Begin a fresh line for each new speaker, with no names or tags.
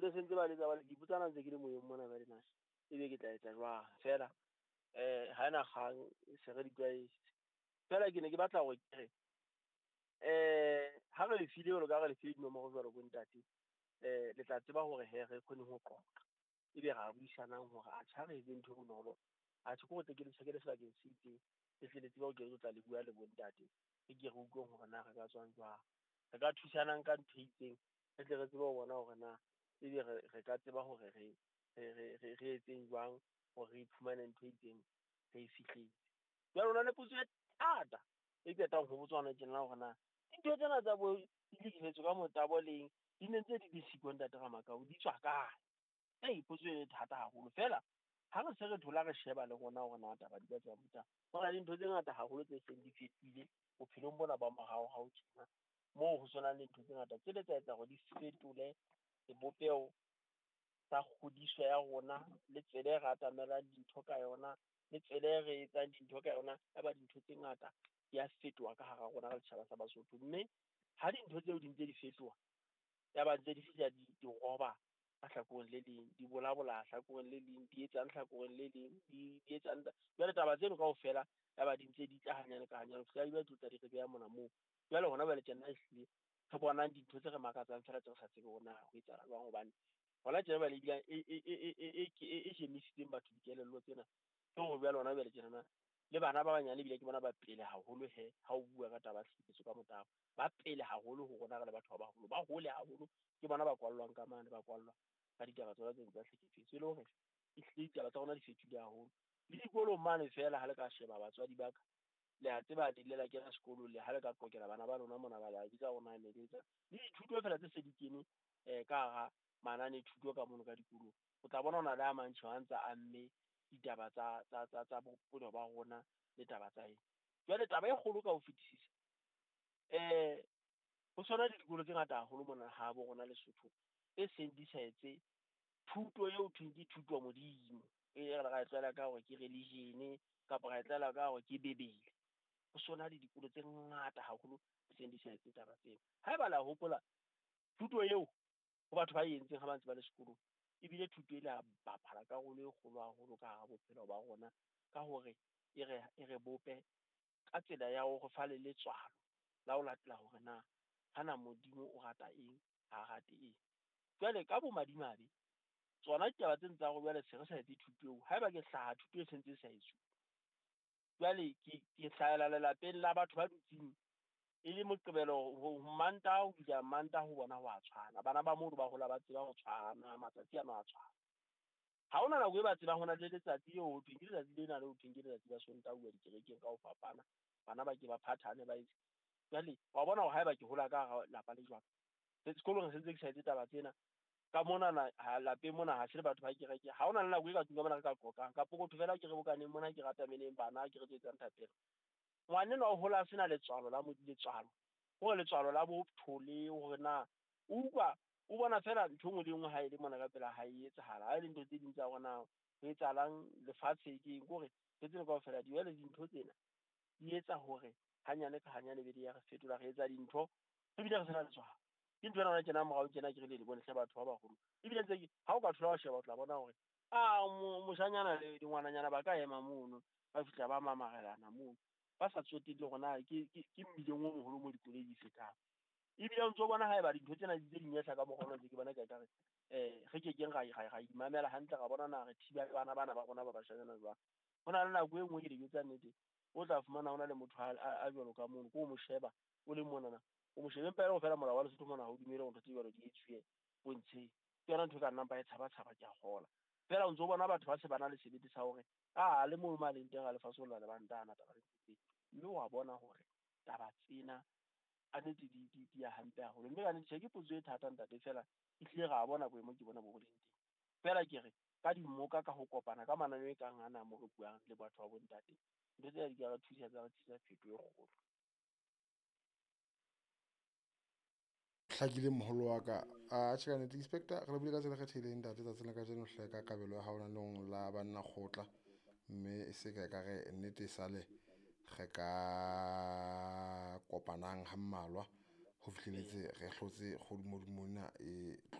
Ntse sentse ba letsa ba le ke ipotsana ntse ke le moyeng mona ba lena. Ebe ke tla etsa jwang fela ha ena kgang se re di tlwaetse. Fela ke ne ke batla hore ke re ha re le file jwalo ka ha re le file dinomoro jwalo bo ntate, le tla tseba hore he re kgone ho qoqa. Ebe ra buisanang hore atjhe ha re etse ntho e bonolo. Atjhe ke hore tle ke le tjhakele sebakeng se itseng, le tle le tsebe hore ke tlo tla le bua le bo ntate. Re ke re utlweng hore na re ka tswang jwang. Re ka thusanang ka ntho e itseng, re tle re tsebe ho bona hore na ebe re ka tseba hore re etseng jwang hore re iphumane ntho e itseng re e fihletse. Jwale ho na le potso e thata e qetang ho botswa hona tjena hore na dintho tsena tsa bo ditlhekefetso ka motabo leng di ne ntse di le siko ntate Ramakau, di tswa kae? Ei, potso e thata haholo. Fela ha re se re thola re sheba le rona hore na taba di ka tswa botsa. Ho na le dintho tse ngata haholo tse seng di fetohile bophelong bona ba moraorao tjena. Moo ho tshwanang le ntho tse ngata tse le tsa etsa hore di fetole sebopeho sa kgodiso ya rona le tsela e re atamelang dintho ka yona, le tsela e re etsang dintho ka yona. Ya ba dintho tse ngata di a fetoha ka hara rona re setjhaba sa Basotho. Mme ha dintho tseo di ntse di fetoha, ya ba ntse di fihla di roba ka hlakoreng le leng, di bolabola hlakoreng le leng, di etsang hlakoreng le leng, di etsang. Jwale taba tseno kaofela ya ba di ntse di tla hanyane ka hanyane ho fihlela di ba di tla di re beha mona moo. Jwale hona jwale tjena ehlile re bonang dintho tse re makatsang fela tse re sa tsebe hore na ho etsahala jwang hobane hona tjena jwale ebile e jemisitseng batho dikelello tsena. Ke hore jwale hona jwale tjenana le bana ba banyane ebile ke bona ba pele haholo he ha o bua ka taba ya tlhekefetso ka motabo. Ba pele haholo ho rona re le batho ba baholo, ba hole haholo ke bona ba kwallwang ka mane, ba kwallwa ka ditaba tsona tseno tsa tlhekefetso. E le hore ehlile ditaba tsa rona di fetohile haholo. Le dikolong mane fela ha le ka sheba batswadi ba ka, le a tseba le ile la kena sekolong le ha le ka qokela bana ba lona mona ba la bitsa hore na ne le etsa. Le dithuto fela tse se di kene ka hara manane thuto ka mono ka dikolong. O tla bona hona le a mang tjhe a ntse a amme ditaba tsa bophelo ba rona le taba tsa eng. Jwale taba e kgolo ka ho fetisisa, ho tshwana le dikolo tse ngata haholo mona ha bo rona Lesotho tse seng di sa etse thuto eo thweng ke thuto ya Modimo. E re ra e tlwaela ka hore ke religion kapa ra e tlwaela ka hore ke Bebele. Ho sona le dikolo tse ngata haholo tse seng di sa etse taba tseo. Haeba la hopola thuto eo ho batho ba entseng ha ba ntse ba le sekolong, ebile thuto e la bapala karolo e kgolo haholo ka hara bophelo ba rona ka hore e re bope ka tsela ya hore fa le letswalo la ho latela hore na hana Modimo o rata eng, ha rate eng. Jwale ka bomadimabe tsona ditaba tsena tsa hore jwale se re sa etse thuto eo, haeba ke hlaha thuto e sentse e sa etsuwe. Jwale ke hlahela lelapeng la batho ba dutseng e le Moqebelo ho Mantaha ho fihla Mantaha ho bona ho a tshwana. Bana ba mono ba hola ba tseba ho tshwana, matsatsi ano a tshwana. Ha hona nako e ba tsebang hona le letsatsi leo ho thweng ke letsatsi lena le ho thweng ke letsatsi la Sontaha ho uwa dikerekeng ka ho fapana. Bana ba ke ba phathane ba etse. Jwale wa bona hore haeba ke hola ka hara lapa le jwalo, sekolong se ntse ke sa etse taba tsena. Ka monana ha lapeng mona ha se le batho ba kereke. Ha hona le nako e ka tlung ka mona re ka qoqang. Kapo ho fela ke re bokaneng mona ke ratameneng bana ke re tlo etsang thapelo. Ngwanenwa o hola a sena letswalo la letswalo. Hore letswalo la botho le hore na o utlwa o bona fela ntho e nngwe le nngwe ha e le mona ka pela hae e etsahala. Ha e le ntho tse ding tsa hore na ho etsahalang lefatshe ke eng, ke hore ntho tsena kaofela di jwale dintho tsena di etsa hore hanyane ka hanyane be di ya re fetola, re etsa dintho ebile re sena letswalo. Ke ntho ena hona tjena morao tjena ke re le bone hle batho ba baholo. Ebile ntse ha o ka thola wa sheba o tla bona hore moshanyana le ngwananyana ba ka ema mono ba fihla ba mamarelana mono ba sa tsotelle hore na ke mmileng o moholo mo dikoloi di fetang. Ebile o ntso bona haeba dintho tsena di ntse di nyehla ka mokgwa ona ntse ke bona ka ekare re kekeng ra imamela hantle ra bona na re thiba bana bana ba rona ba bashanyana jwang. Ho na le nako e nngwe ke dijo tsa nnete o tla fumana hona le motho a jwalo ka mono, ko o mo sheba o le monana o mo shebe empa e le feela molao wa Lesotho mona ha o dumele hore ntho tse jwalo di etsuwe pontsheng. Ke yona ntho e ka nnang ba e tshaba tshaba ke a kgola. Feela o ntso bona batho ba se ba na le sebete sa hore le moo ma leng teng a lefatshe ho la lebanta ana taba tse. Mme wa bona hore taba tsena a nnete di ya hampe haholo. Mme ka nnete ke potso e thata ntate fela ehlile ra bona boemo ke bona bo leng teng. Feela ke re ka dimmoka ka ho kopana ka mananeo e kang ana mo re buang le batho ba bontate, ntho tsena di ka re thusa tsa re tlisa phetoho e kgolo.
Hlakile moholo wa ka. Atjhe ka nnete inspector re lebile ka tsela e kgethehileng ntate tsatsing la kajeno hle ka kabelo ya hao naneong la banna kgotla, mme e se ka ekare nnete e sale re ka kopanang ha mmalwa ho fihlelletse re hlotse kgodumodimo ena e tlo